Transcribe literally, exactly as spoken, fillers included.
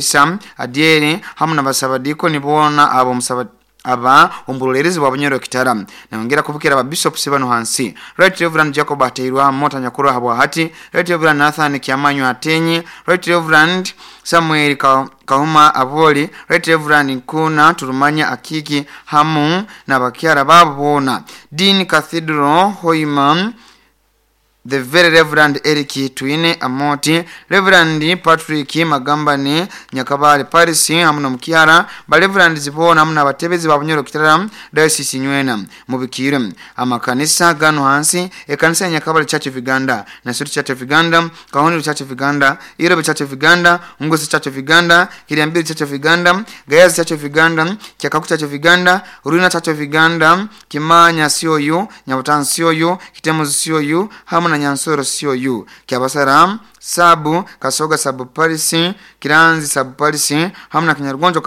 Isa Adyeri hamu n'abasabadiikoni boona abo musaba aba omuburolerezi bwa Bunyoro Kitara. Nayongera kubukira ababishops bano hansi: Right Reverend Jacob Ateirwa Mota Nyakuru habwa hati, Right Reverend Nathan Kiamanyo Atenyi, Right Reverend Samuel Ka- Kahuma Aboli, Right Reverend Nkuna Turumanya Akiki hamu n'abakyara babo boona, Dean Cathedral Hoima the Very Reverend Eric Twine Amoti, Reverend Patrick Magambane Nyakabale Paris hamu n'omukyara, ba Reverend boona hamu n'abatebezi ba Bunyoro Kitara Diocese nywena mubikire. Amakanisa gano hansi: ekanisa ya Nyakabale Church of Uganda, Nasuri Church of Uganda, Kahonero Church of Uganda, Irobe Church of Uganda, Ngosi Church of Uganda, Kiriambiri Church of Uganda, Gayazi Church of Uganda, Kyakaku Church of Uganda, Ruina Church of Uganda, Kimanya C O U, Nyabutanzi C O U, Kitemuzi C O U hamu na Nyansoro C O U, Kyabasara Sabu, Kasoga Sub Parish, Kiranzi Sub Parish hamu na Kinyargonjo Catholic.